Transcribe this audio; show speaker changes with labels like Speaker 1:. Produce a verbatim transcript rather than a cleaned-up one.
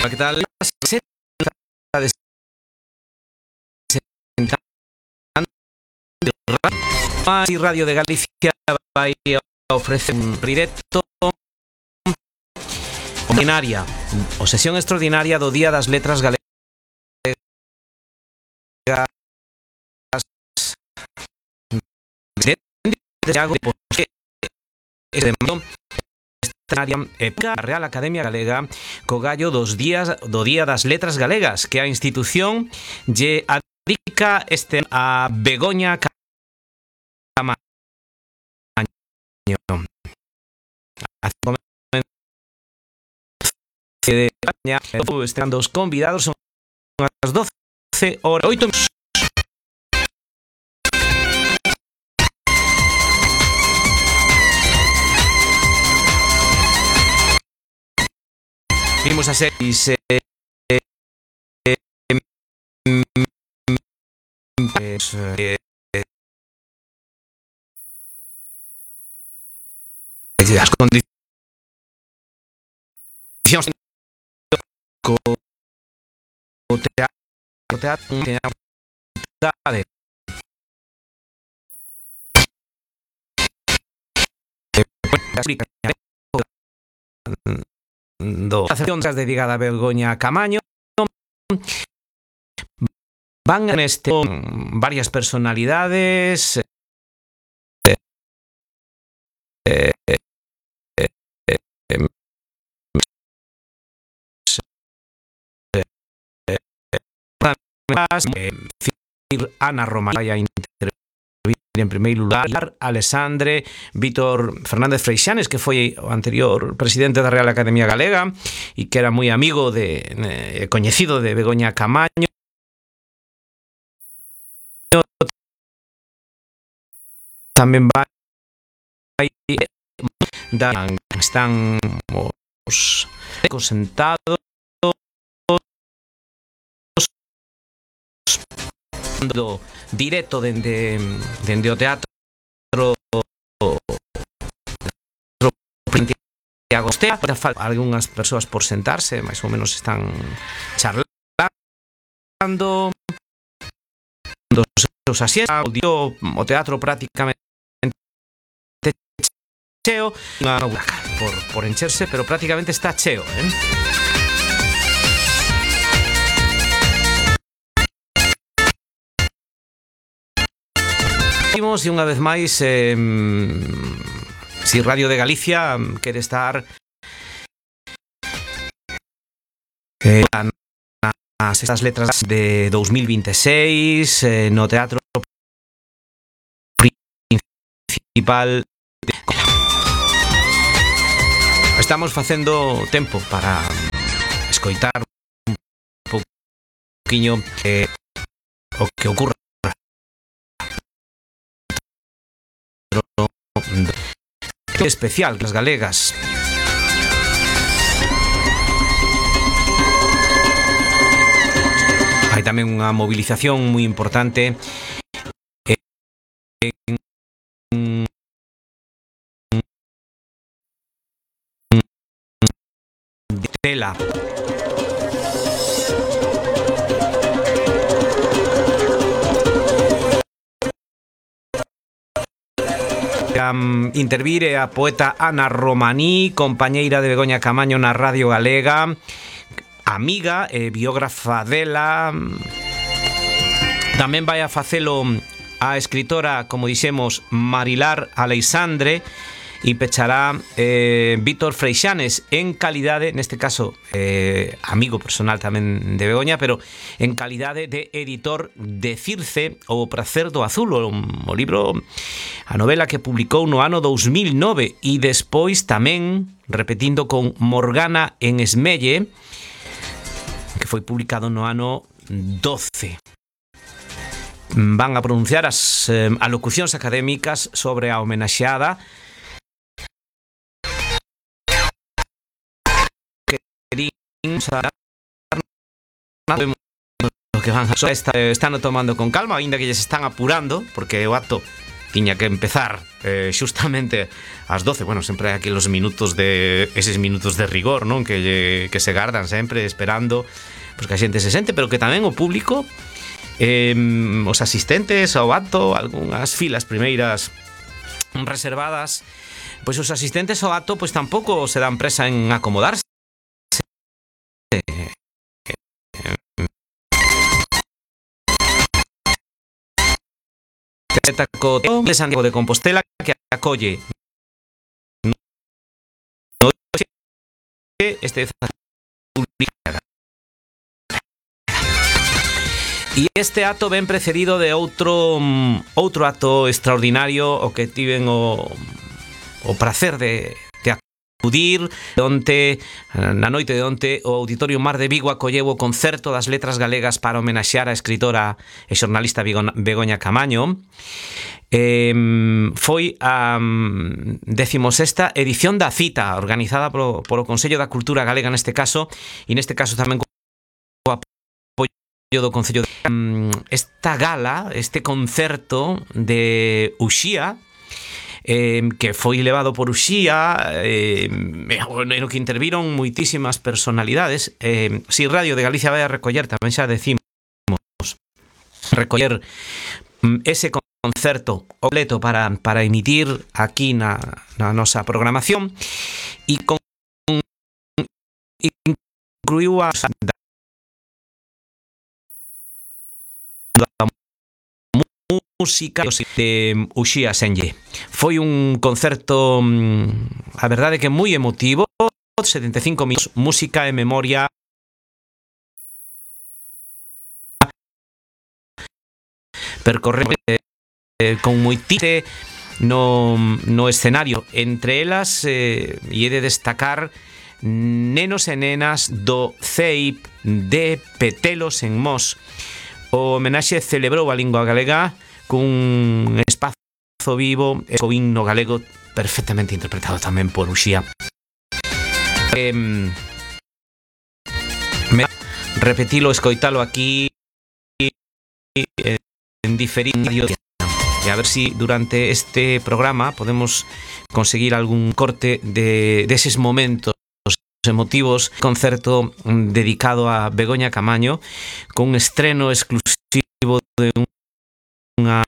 Speaker 1: que tal? Y Radio de Galicia vai ofrecer un directo ordinaria, o sesión extraordinaria do Día das Letras Galegas a Real Academia Galega co gallo dos días do Día das Letras Galegas, que a institución lle adica este a Begoña Camaño. De España, están dos convidados, son as doce horas oito. Vimos a seis eh, eh, eh, las condiciones o teatro, teatro, teatro do accións dedicada a Begoña Camaño. Van en este varias personalidades eh, eh, eh, eh, eh, Ana Roma vai a intervir en primeiro lugar, Alexandre Vítor Fernández Freixanes, que foi o anterior presidente da Real Academia Galega e que era moi amigo de eh, coñecido de Begoña Camaño. Tamén vai da, están os sentados do directo dende dende o teatro Agostea. Algúnas persoas por sentarse, máis ou menos están charlando dos seus asientos. O teatro prácticamente cheo, por, por encherse, pero prácticamente está cheo, eh? E unha vez máis, eh, si Radio de Galicia quere estar eh, nas estas letras de dous mil vinte e seis eh, no teatro principal de... Estamos facendo tempo para escoitar un pouquiño eh, o que ocurre especial, las galegas. Hai tamén unha movilización moi importante en tela. Um, intervire a poeta Ana Romaní, compañeira de Begoña Camaño na Radio Galega, amiga e biógrafa dela. Tamén vai a facelo a escritora, como dixemos, Marilar Aleixandre, e pechará eh, Vítor Freixanes en calidade, neste caso eh, amigo personal tamén de Begoña, pero en calidade de editor de Circe, O pracer do azul, o, o libro, a novela que publicou no ano dous mil nove, e despois tamén repetindo con Morgana en Esmelle, que foi publicado no ano doce. Van a pronunciar as eh, alocucións académicas sobre a homenaxeada que van a está, están tomando con calma, ainda que lles están apurando, porque o acto tiña que empezar eh, xustamente ás doce. Bueno, sempre hai aquí los minutos de eses minutos de rigor, non? Que, lle, que se gardan sempre esperando pues, que a xente se sente, pero que tamén o público, eh, os asistentes ao acto, algunhas filas primeiras reservadas, pois os asistentes ao acto pois tampouco se dan presa en acomodarse. De Santiago de Compostela que acolle no este e este acto ven precedido de outro outro acto extraordinario o que tiven o, o prazer de, de acudir onte, na noite de onte o Auditorio Mar de Vigo acolleu o concerto das letras galegas para homenaxear a escritora e xornalista Begoña Camaño. Eh, foi a um, decimosexta edición da cita organizada polo, polo Consello da Cultura Galega neste caso, e neste caso tamén co apoio do Concello de... Um, esta gala, este concerto de Uxía, eh, que foi levado por Uxía, eh, no que interviron moitísimas personalidades. eh, si Radio de Galicia vai a recoller, tamén xa decimos, recoller um, ese concerto concerto completo para, para emitir aquí na, na nosa programación, e con incluiu a música de Uxía Senlle. Foi un concerto, a verdade que moi emotivo, setenta e cinco minutos, música e memoria percorrendo Eh, con moitite no, no escenario, entre elas eh, e he de destacar nenos e nenas do C E I P de Petelos en Mos. O homenaxe celebrou a lingua galega cun espazo vivo e co himno galego perfectamente interpretado tamén por Uxía. eh, me repetilo, escoitalo aquí eh, en diferido, e a ver si durante este programa podemos conseguir algún corte de deses momentos emotivos, concerto dedicado a Begoña Camaño, con un estreno exclusivo de unha